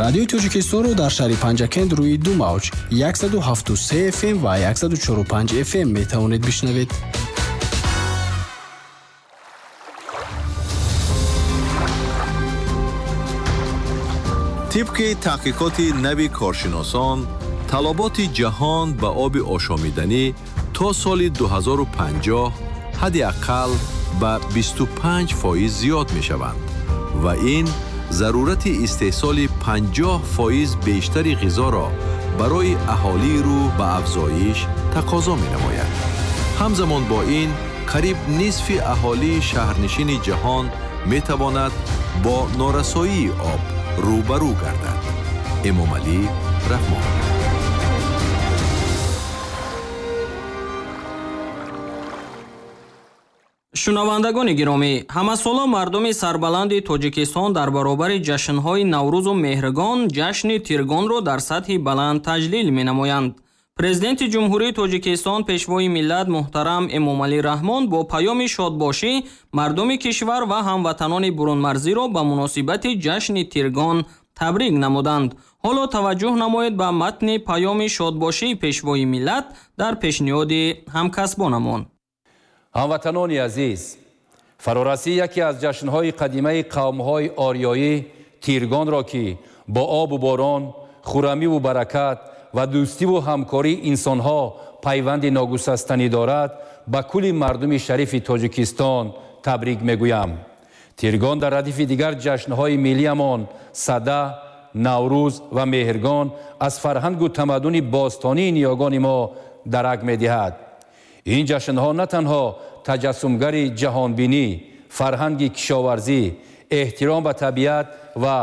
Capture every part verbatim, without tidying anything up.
Радиои Тоҷикистонро дар шаҳри Панҷакент рӯи ду мавҷ яксаду ҳафту се эф эм ва яксаду чору панҷ эф эм метавонед бишнавед. Тибқи таҳқиқоти нави коршиносон, талаботи ҷаҳон ба оби ошомиданӣ то соли дуҳазору панҷоҳ ҳадди ақал ба бисту панҷ фоиз зиёд мешаванд ва ин зарурати истеҳсоли панҷоҳ фоиз бештари ғизоро барои аҳолии рӯ ба афзоиш тақозо менамояд. Ҳамзамон бо ин, қариб нисфи аҳолии шаҳрнишини ҷаҳон метавонад бо норасоии об рӯбарӯ гардад. Эмомалӣ Раҳмон. Шунавандагони гиромӣ, ҳамасола мардуми сарбаланди Тоҷикистон дар баробари ҷашнҳои Наврӯзу Меҳргон ҷашни Тиргонро дар сатҳи баланд таҷлил менамоянд. Президенти Ҷумҳурии Тоҷикистон, Пешвои миллат муҳтарам Эмомалӣ Раҳмон бо паёми шодбошӣ мардуми кишвар ва ҳамватанони бурунмарзиро ба муносибати ҷашни Тиргон табрик намуданд. Ҳоло таваҷҷӯҳ намоед ба матни паёми шодбошии Пешвои миллат дар пешниҳоди ҳамкасбонамон. Ҳамватанони азиз, фарорасӣ яке аз ҷашнҳои қадимаи қавмҳои ориёӣ Тиргонро, ки бо обу борон, хурамиву баракат ва дӯстиву ҳамкории инсонҳо пайванди ногусастанӣ дорад, ба кулли мардуми шарифи Тоҷикистон табрик мегӯям. Тиргон дар радифи дигар ҷашнҳои миллиямон Сада, Наврӯз ва Меҳргон аз фарҳангу тамаддуни бостонии ниёгони мо дарак медиҳад. Ин ҷашнҳо на танҳо таҷассумгари ҷаҳонбинӣ, фарҳанги кишоварзӣ, эҳтиром ба табиат ва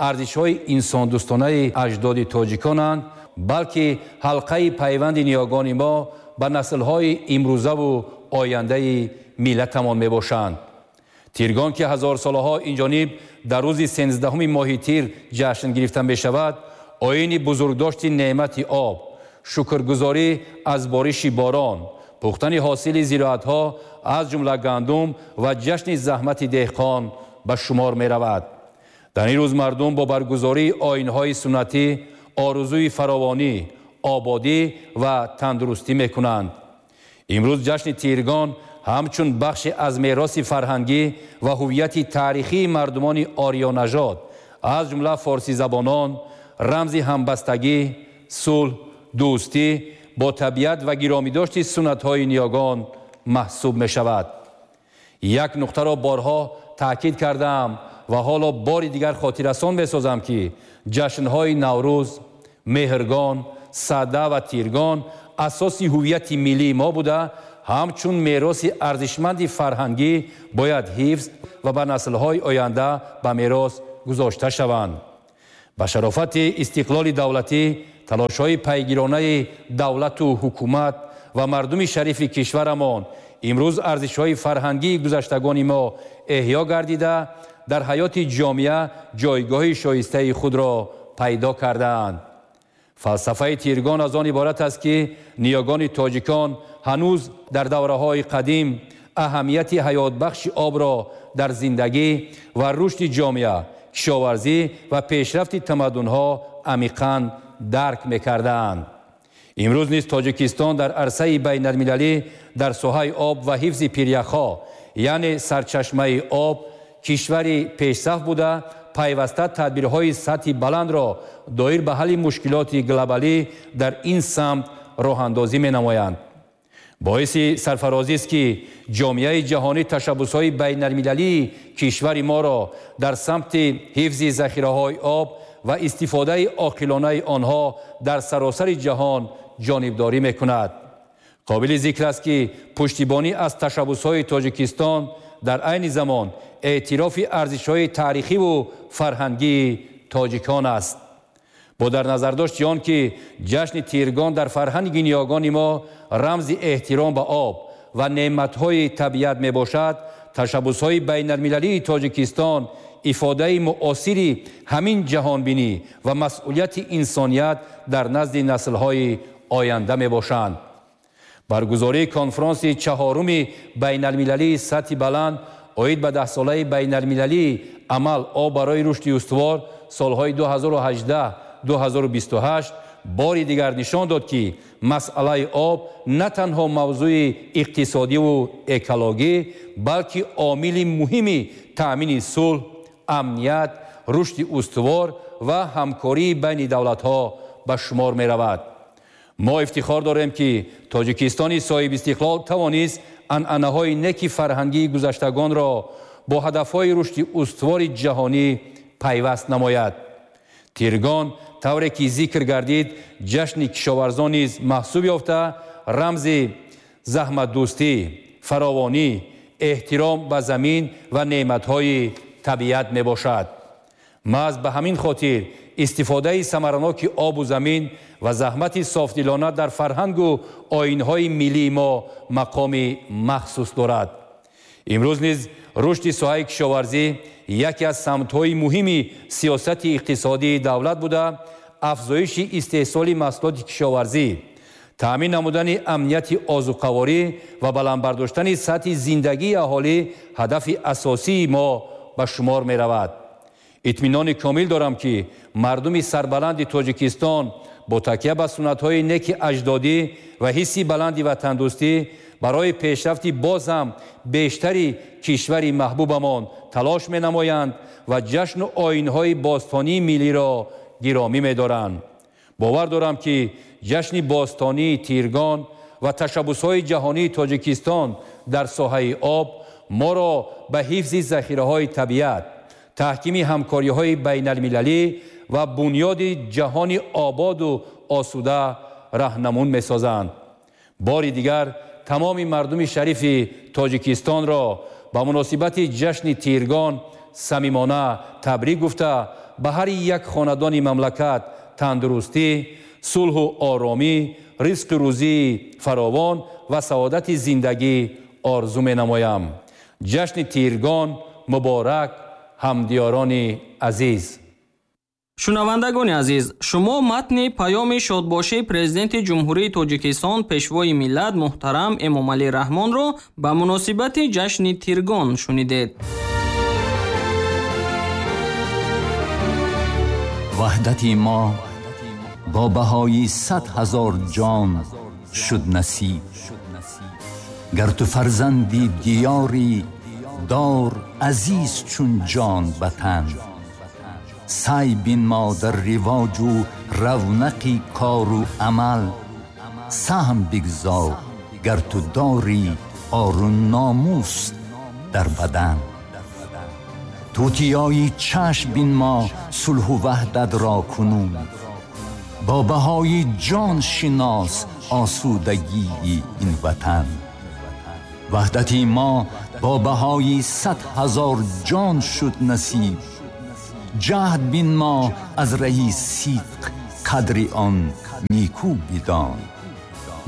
арзишҳои инсондӯстонаи аҷдоди тоҷиконанд, балки ҳалқаи пайванди ниёгони мо ба наслҳои имрӯзаву ояндаи миллатамон мебошанд. Тиргон, ки ҳазорсолаҳо инҷониб дар рӯзи сенздаҳуми моҳи тир ҷашн гирифта мешавад, оини бузургдошти неъмати об, шукргузорӣ аз бориши борон, пухтани ҳосили зироатҳо аз ҷумла гандум ва ҷашни заҳмати деҳқон ба шумор меравад. Дар ин рӯз мардум бо баргузории оинҳои суннатӣ орзуи фаровонӣ, ободӣ ва тандурустӣ мекунанд. Имрӯз ҷашни Тиргон ҳамчун бахше аз мероси фарҳангӣ ва ҳувияти таърихии мардумони ориёнажод, аз ҷумла форсизабонон, рамзи ҳамбастагӣ, сулҳ, дӯстӣ бо табиат ва гиромидошти суннатҳои ниёгон маҳсуб мешавад. Як нуқтаро борҳо таъкид кардаам ва ҳоло бори дигар хотиррасон месозам, ки ҷашнҳои Наврӯз, Меҳргон, Сада ва Тиргон асоси ҳувияти миллии мо буда, ҳамчун мероси арзишманди фарҳангӣ бояд ҳифз ва ба наслҳои оянда ба мерос гузошта шаванд. Ба шарофати истиқлоли давлатӣ, талошҳои пайгиронаи давлату ҳукумат ва мардуми шарифи кишварамон имрӯз арзишҳои фарҳангии гузаштагони мо эҳё гардида, дар ҳаёти ҷомеа ҷойгоҳи шоистаи худро пайдо кардаанд. Фалсафаи Тиргон аз он иборат аст, ки ниёгони тоҷикон ҳанӯз дар давраҳои қадим аҳамияти ҳаётбахши обро дар зиндагӣ ва рушди ҷомеа, кишоварзӣ ва пешрафти тамаддунҳо амиқан дарк мекардаанд. Имрӯз низ Тоҷикистон дар арсаи байналмилалӣ дар соҳаи об ва ҳифзи пиряхҳо, яъне сарчашмаи об, кишвари пешсаф буда, пайваста тадбирҳои сатҳи баландро доир ба ҳалли мушкилоти глобалӣ дар ин самт роҳандозӣ менамоянд. Боиси сарфарозист, ки ҷомеаи ҷаҳонӣ ташаббусҳои байналмилалии кишвари моро дар самти ҳифзи захираҳои об ва истифодаи оқилонаи онҳо дар саросари ҷаҳон ҷонибдорӣ мекунад. Қобили зикр аст, ки пуштибонӣ аз ташаббусҳои Тоҷикистон дар айни замон эътирофи арзишҳои таърихиву фарҳангии тоҷикон аст. Бо дар назардошти он, ки ҷашни Тиргон дар фарҳанги ниёгони мо рамзи эҳтиром ба об ва неъматҳои табиат мебошад, ташаббусҳои байналмилалии Тоҷикистон ифодаи муосири ҳамин ҷаҳонбинӣ ва масъулияти инсоният дар назди наслҳои оянда мебошанд. Баргузории конфронси чаҳоруми байналмилалии сатҳи баланд оид ба даҳсолаи байналмилалии амал об барои рушди устувор солҳои ду ҳазору ҳаждаҳ ду ҳазору бисту ҳашт бори дигар нишон дод, ки масъалаи об на танҳо мавзӯи иқтисодиву экологӣ, балки омили муҳими таъмини сулҳ, амният, рушди устувор ва ҳамкории байни давлатҳо ба шумор меравад. Мо ифтихор дорем, ки Тоҷикистони соҳибистиқлол тавонист анъанаҳои неки фарҳангии гузаштагонро бо ҳадафҳои рушди устувори ҷаҳонӣ пайваст намояд. Тиргон тавре ки зикр гардид, ҷашни кишоварзон низ маҳсуб ёфта, рамзи заҳматдӯстӣ, фаровонӣ, эҳтиром ба замин ва неъматҳои табиат мебошад. Маҳз ба ҳамин хотир истифодаи самараноки обу замин ва заҳмати софдилона дар фарҳангу оинҳои миллии мо мақоми махсус дорад. Имрӯз низ рушди соҳаи кишоварзӣ яке аз самтҳои муҳими сиёсати иқтисодии давлат буда, афзоиши истеҳсоли маҳсулоти кишоварзӣ, таъмин намудани амнияти озуқаворӣ ва баланд бардоштани сатҳи зиндагии аҳолӣ ҳадафи асосии мо ба шумор меравад. Итминони комил дорам, ки мардуми сарбаланди Тоҷикистон бо такя ба суннатҳои неки аҷдодӣ ва ҳисси баланди ватандӯстӣ барои пешрафти боз ҳам бештари кишвари маҳбубамон талош менамоянд ва ҷашну оинҳои бостонии миллиро гиромӣ медоранд. Бовар дорам, ки ҷашни бостонии Тиргон ва ташаббусҳои ҷаҳонии Тоҷикистон дар соҳаи об моро ба ҳифзи захираҳои табиат, таҳкими ҳамкориҳои байналмилалӣ ва бунёди ҷаҳони ободу осуда раҳнамун месозанд. Бори дигар тамоми мардуми шарифи Тоҷикистонро ба муносибати ҷашни Тиргон самимона табрик гуфта, ба ҳар як хонадони мамлакат тандурустӣ, сулҳу оромӣ, ризқу рӯзии фаровон ва саодати зиндагӣ орзу менамоям. Ҷашни Тиргон муборак, ҳамдиёрони азиз. Шунавандагони азиз, шумо матни паёми шодбошии Президенти Ҷумҳурии Тоҷикистон Пешвои миллат муҳтарам Эмомалӣ Раҳмонро ба муносибати ҷашни Тиргон шунидед. Ваҳдати мо бо баҳои сад ҳазор ҷон шуд насиб. Гар ту фарзанди диёрӣ, дор азиз чун ҷон ба тан. Сай бинмо дар ривоҷу равнақи кору амал, саҳм бигзор гар ту дорӣ ору номус дар бадан. Тутиёи чашм бинмо сулҳу ваҳдатро кунун, бо баҳои ҷон шинос осудагии ин ватан. Ваҳдати мо бо баҳои сад ҳазор ҷон шуд насиб. Ҷаҳд бинмо аз раҳи сидқ қадри он никӯ бидон.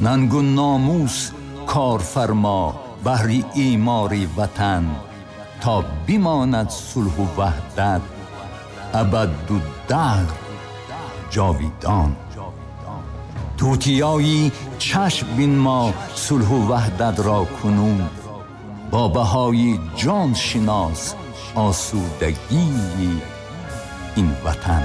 Нангу номус кор фармо баҳри имори ватан, то бимонад сулҳу ваҳдат абаду даҳр ҷовидон. Тутиёи чашм бинмо сулҳу ваҳдатро кунун, бо баҳои ҷон шинос осудагии ин ватан.